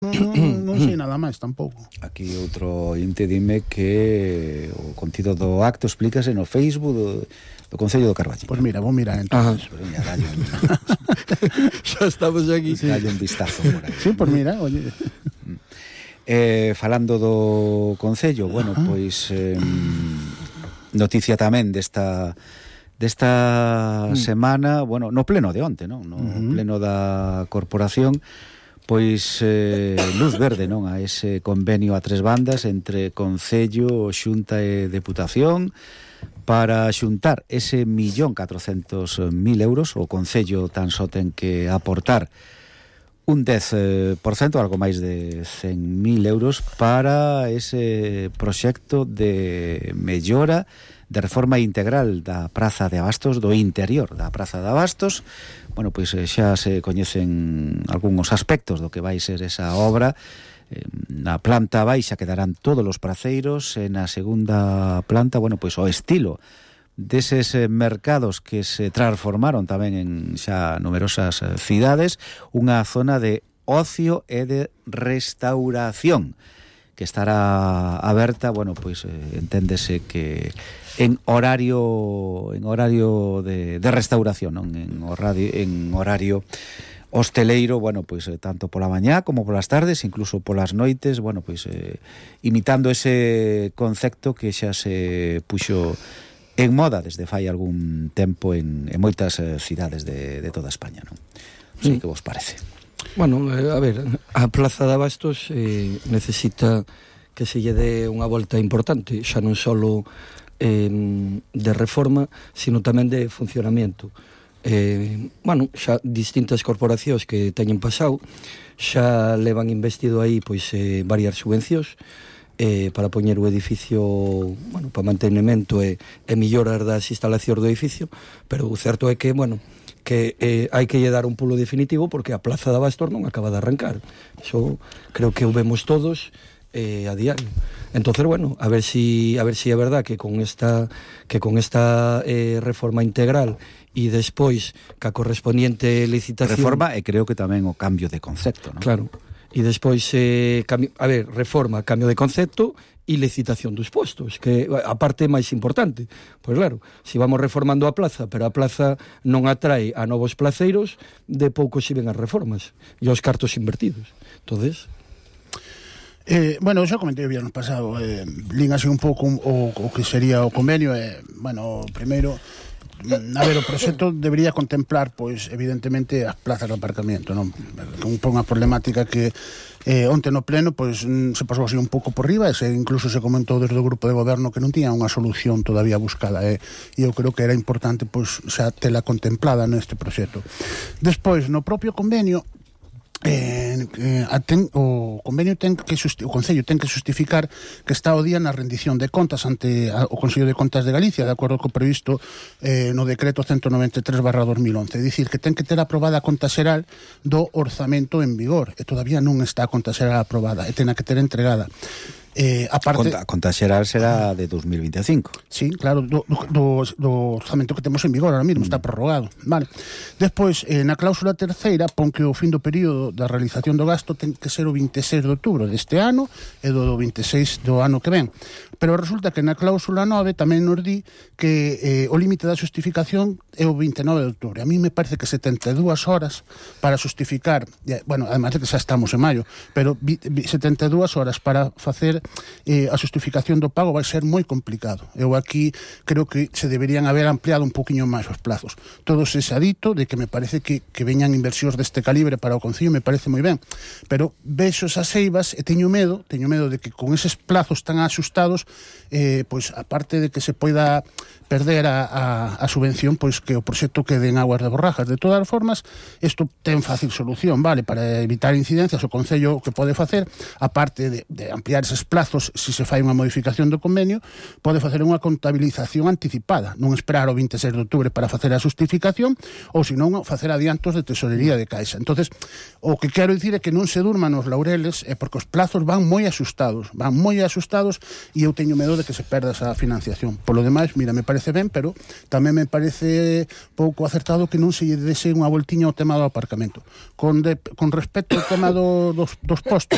Non sei nada máis tampouco. Aquí outro inte dime que o contido do acto explícase no Facebook do Concello do Carballiño. Pois mira, vou mirar entonces. Xa estamos aquí. Dalle un vistazo por aí. Sí, pois mira, oye. Falando do Concello, bueno, pois noticia tamén desta semana, bueno, no pleno de onte, non? No pleno da corporación, pois luz verde, non, a ese convenio a tres bandas entre Concello, Xunta e Deputación para xuntar ese 1.400.000 euros. O Concello tan só ten que aportar un 10%, algo máis de 100.000 euros para ese proxecto de mellora, de reforma integral da Praza de Abastos, do interior da Praza de Abastos. Bueno, pois xa se coñecen algúns aspectos do que vai ser esa obra. Na planta baixa quedarán todos os praceiros, e na segunda planta, bueno, pois o estilo deses mercados que se transformaron tamén en xa numerosas cidades, unha zona de ocio e de restauración que estará aberta, bueno, pois enténdese que en horario de restauración, non? En horario hosteleiro, bueno, pois tanto pola mañá como polas tardes, incluso polas noites, bueno, pois imitando ese concepto que xa se puxo en moda desde fai algún tempo en moitas cidades de toda España, non? Non sei que vos parece. Bueno, a ver, a Plaza de Abastos necesita que se lle dé unha volta importante, xa non só de reforma, sino tamén de funcionamento. Bueno, xa distintas corporacións que teñen pasado xa levan investido aí pois varias subvencións para poñer o edificio, bueno, para mantenimento e mellorar das instalacións do edificio, pero o certo é que, bueno, que hai que lle dar un pulo definitivo porque a Plaza de Abastos non acaba de arrancar. Iso creo que o vemos todos a diario. Entonces, bueno, a ver si é verdad que con esta reforma integral e despois ca correspondiente licitación... Reforma e creo que tamén o cambio de concepto, non? Claro. E despois, reforma, cambio de concepto e licitación dos postos, que a parte máis importante. Pois claro, se vamos reformando a plaza, pero a plaza non atrae a novos placeiros, de pouco se ven as reformas e os cartos invertidos. Entonces... bueno, xa comentei o viernes pasado, lín así un pouco o que sería o convenio. Bueno, primeiro, a ver, o proxecto debería contemplar, pois, evidentemente, as plazas de aparcamiento, non? Unha problemática que onte no pleno, pois, se pasou así un pouco por riba, e incluso se comentou desde o grupo de goberno que non tiña unha solución todavía buscada, e eu creo que era importante, pois, xa tela contemplada neste proxecto. Despois, no propio convenio, o Concello ten que justificar que está o día na rendición de contas ante o Consello de Contas de Galicia, de acordo co previsto no decreto 193/2011, é dicir, que ten que ter aprobada a conta xeral do orzamento en vigor, e todavía non está a conta xeral aprobada, e ten que ter entregada. A conta xeral será de 2025. Sí, claro, do orzamento que temos en vigor ahora mesmo, está prorrogado, vale. Despois, na cláusula terceira pon que o fin do período da realización do gasto ten que ser o 26 de outubro deste ano e do 26 do ano que ven. Pero resulta que na cláusula 9 tamén nos di que o límite da xustificación é o 29 de outubro. A mí me parece que 72 horas para xustificar, bueno, además de que xa estamos en maio, pero 72 horas para facer a xustificación do pago vai ser moi complicado. Eu aquí creo que se deberían haber ampliado un poquinho máis os plazos. Todo se xa dito de que me parece que veñan inversións deste calibre para o Concello, me parece moi ben, pero vexo esas eivas e teño medo de que con eses plazos tan axustados, pois aparte de que se poida perder a subvención, pois que o proxecto quede en aguas de borrajas. De todas as formas, isto ten fácil solución, vale? Para evitar incidencias, o Concello que pode facer, aparte de ampliar eses plazos, se se fai unha modificación do convenio, pode facer unha contabilización anticipada, non esperar o 26 de outubro para facer a xustificación, ou senón facer adiantos de tesorería de caixa. Entonces, o que quero dicir é que non se durman os laureles, porque os plazos van moi asustados, e eu teño medo de que se perda esa financiación. Por lo demais, mira, me parece ben, pero tamén me parece pouco acertado que non se lle dese unha voltiña ao tema do aparcamento. Con respecto ao tema dos postos,